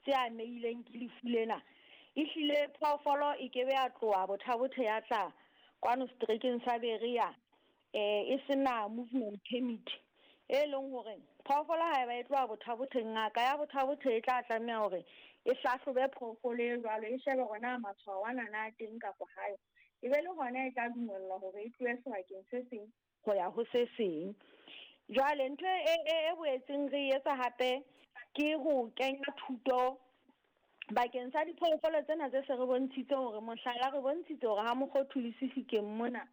tse amehileng ke lefu lena. Ehlile phoofolo e ke be ya tloha Botha-Bothe ya tla kwano seterekeng sa Berea e se na movement permit, e leng hore phoofolo haeba e tloha Botha-Bothe, ngaka ya Botha-Bothe e tla tlameha hore e hlahlobe phoofolo e jwalo, e shebe hore na matshwao ana na a teng kapa hayo. E be le hona e tla dumellwa hore e tlohe sebakeng se seng ho ya ho se seng. Jwale ntho e e e boetseng re etsa hape ke ho kenya thuto bakeng sa diphoofolo tsena tse se re bontshitse hore, mohlala, re bontshitse hore ha Mokgothu le Sefikeng mona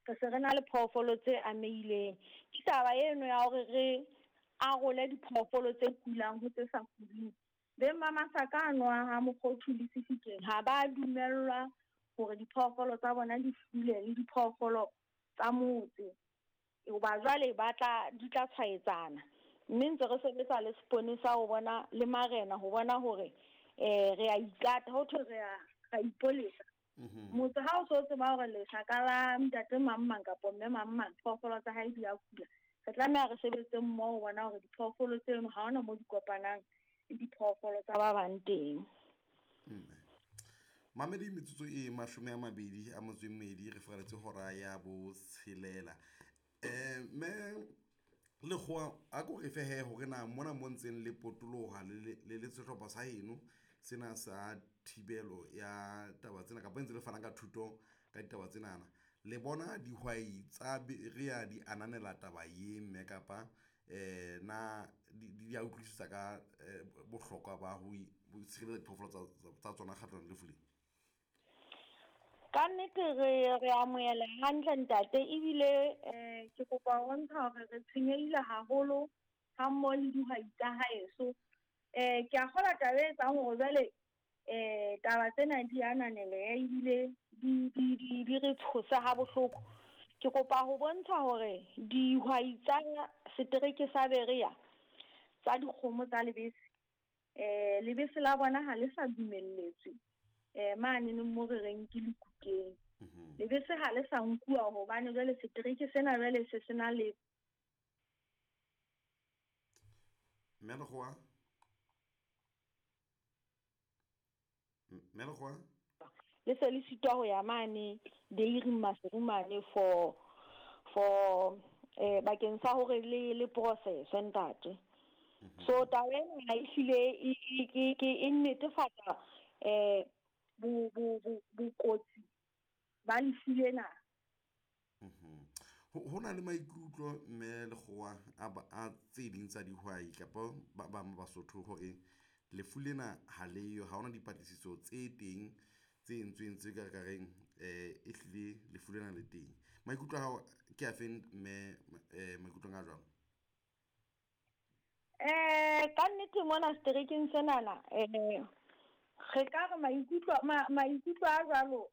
re se re na le phoofolo tse amehileng. Ke taba eno ya hore re arole diphoofolo tse kulang ho tse sa kuleng. Beng ba masaka ano a ha Mokgothu le Sefikeng ha ba dumellwa hore diphoofolo tsa bona di fule le diphoofolo tsa motse, hoba jwale ba tla di tla tshwaetsana. Mme ntse re sebetsa le seponesa ho bona le marena ho bona hore re a ikata, ho thwe re a ra ipolesa. Motse ha o so tseba hore lesaka la ntate mang mang kapa mme mang mang phoofolo tsa hae di a kula, re tlameha re sebetse mmoho ho bona hore diphoofolo tseno ha hona mo di kopanang le diphoofolo tsa ba bang teng. Mamedi, metsotso e 22 re furaletse hora ya botshelela. Mme Lekgowa, a ko re fe he hore na mona mo ntseng le potoloha le le sehlopha sa heno sena sa thibelo ya taba tsena, kapa ntse le fana ka thuto ka ditaba tsenana, le bona dihwai tsa Berea di ananela taba ye mme kapa na di a utlwisisa ka bohlokwa ba ho tshireletsa diphoofolo tsa tsona kgahlanong le lefu le? Ka nnete re amohela hantle ntate, ebile ke kopa ho bontsha hore re tshwenyehile haholo ha mmoho le dihwai tsa haeso. Ke a kgolwa taba e etsang hore jwale taba tsena di ananelehe ebile di re tshose ha bohloko. Ke kopa ho bontsha hore dihwai tsa setereke sa Berea tsa dikgomo tsa lebese, lebese la bona ha le sa dumelletswe mane neng mo re reng ke Lekukeng. Lebese ha le sa nkuwa hobane jwale setereke sena jwale se sena le Mme Lekgowa, Mme Lekgowa, le se le sitwa ho ya mane dairy Maseru mane for bakeng sa hore le process, ntate. So taba ena ehlile e ke e netefatsa bo bo bo bokotsi ba lefu lena. Ho na le maikutlo, mme Lekgowa, a tse ding tsa dihwai kapa ba bang ba Basotho hore lefu lena ha leyo, ha hona dipatlisiso tse teng tse entsweng tse ka reng ehlile lefu lena le teng. Maikutlo a hao ke a feng, mme, maikutlong a jwalo? Ka nnete mona seterekeng senana re ka re maikutlo a jwalo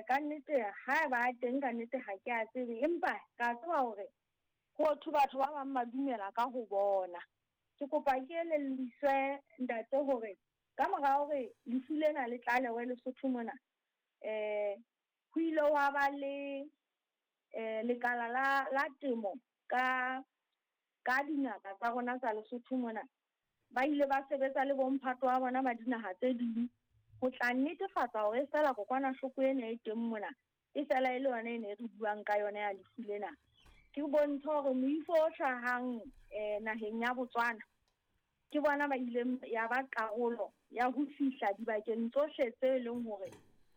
ka nnete ha ba teng, ka nnete ha ke a tsebe, empa ka tseba hore ho thwe batho ba bang ba dumela ka ho bona. Ke kopa ke elelliswe ntate hore ka mora hore lefu lena le tlalewe Lesotho mona, ho ile hwa ba le lekala la temo ka dingaka tsa rona tsa Lesotho mona, ba ile ba sebetsa le bomphato wa bona ba dinaha tse ding ho tla netefatsa hore feela kokwanahloko ena e teng mona e fela e le yona e ne re buang ka yona ya lefu lena. Ke bontsha hore moifo o hlahang naheng ya Botswana ke bona ba ileng ya ba karolo ya ho fihla dibakeng tsohle tse leng hore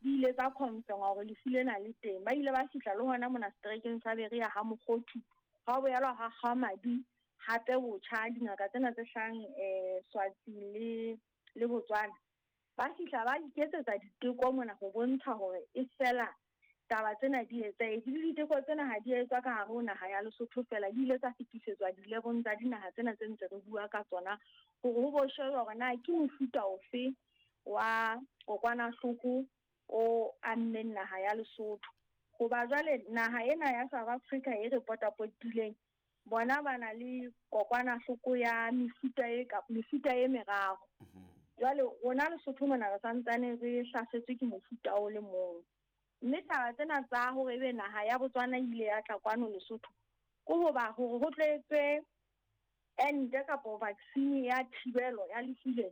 di ile tsa confirm hore lefu lena le teng. Ba ile ba fihla le hona mona seterekeng sa Berea ha Mokgothu, ha boelwa ha kgwa madi hape botjha. Dingaka tsena tse hlahang Swaziland le Botswana ba fihla ba iketsetsa diteko mona ho bontsha hore e fela taba tsena di etsahetse. Le diteko tsena ha di etswa ka hare ho naha ya Lesotho fela, di ile tsa fetisetswa dilebong tsa dinaha tsena tse ntse re bua ka tsona hore ho bo shejwa hore na ke mofuta ofe wa kokwanahloko o ammeng naha ya Lesotho. Hoba jwale naha ena ya South Africa e re potapotileng, bona ba na le kokwanahloko ya mefuta e meraro. Jwale rona Lesotho mona re santsane re hlasetswe ke mofuta o le mong. Mme taba tsena tsa hore ebe naha ya Botswana ile ya tla kwano Lesotho ke hoba hore ho tlo etswe ente kapo vaccine ya thibelo ya lefu lena.